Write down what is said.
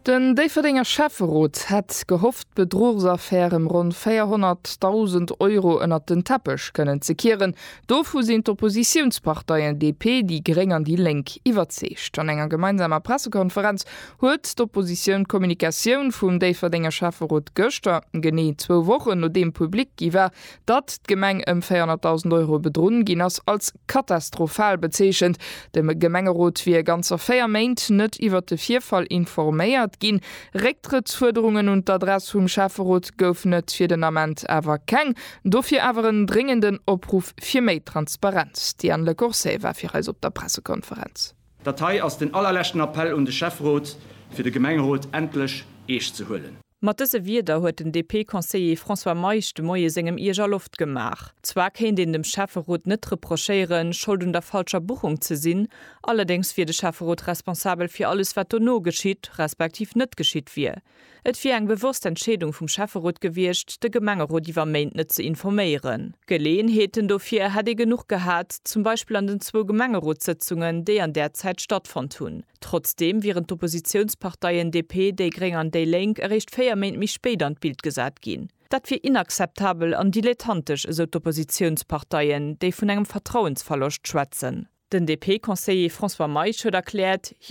Den Déifferdenger Schäfferot hätt gehofft, d'Bedruchsaffär ëm ronn 400.000 Euro ënnert den Teppech kënnen ze kieren. Dovu sinn d'Oppositiounsparteien DP, déi Gréng an déi Lénk iwwerzeegt. An enger gemeinsamer Pressekonferenz huet d'Oppositioun d'Kommunikatioun vum Déifferdenger Schäfferot gëschter, genee zwou Wochen nodeem public gi war, datt d'Gemeng ëm 400.000 Euro bedrunn ginn ass, als katastrophal bezeechent. De Gemengerot wier ganzer 4 Méint net iwwert de Virfall informéiert ginn. Récktrëttsfuerderungen un d'Adress vum Schäfferot goufen et fir den Ament awer keng. Dofir awer en dréngenden Opruff fir méi Transparenz. D'Diane Lecourcey war fir eis op der Pressekonferenz. Dat hei ass den allerleschten Appell un de Schäfferot, fir de Gemengerot endlech eescht ze huelen. Mat dëse Wierder huet den DP-Conseiller François Meisch de Moie sengem Ierger Loft gemaach. Zwar kéint een dem Schäfferot net reprochéieren, Schold un der falscher Buchung ze sinn, allerdéngs wier de Schäfferot responsabel fir alles wat dono geschitt, respektiv net geschitt wier. Et wier eng bewosst Entscheedung vum Schäfferot gewiescht, de Gemengerot iwwer Méint net ze informéieren. Geleeënheeten dofir hätt ee genuch gehat, zum Beispill an den zwou Gemengerotssëtzungen, déi an där Zäit stattfonnt hunn. Trotzdeem wieren d'Oppositiounsparteien DP, déi Gréng an déi Lénk eréischt 4 Méint méi spéit an d'Bild gesat ginn. Dat wier inakzeptabel an dilettantesch, esou d'Oppositiounsparteien, déi vun engem Vertrauensverloscht schwätzen. Den DP-Conseiller François Meisch huet erkläert, hie.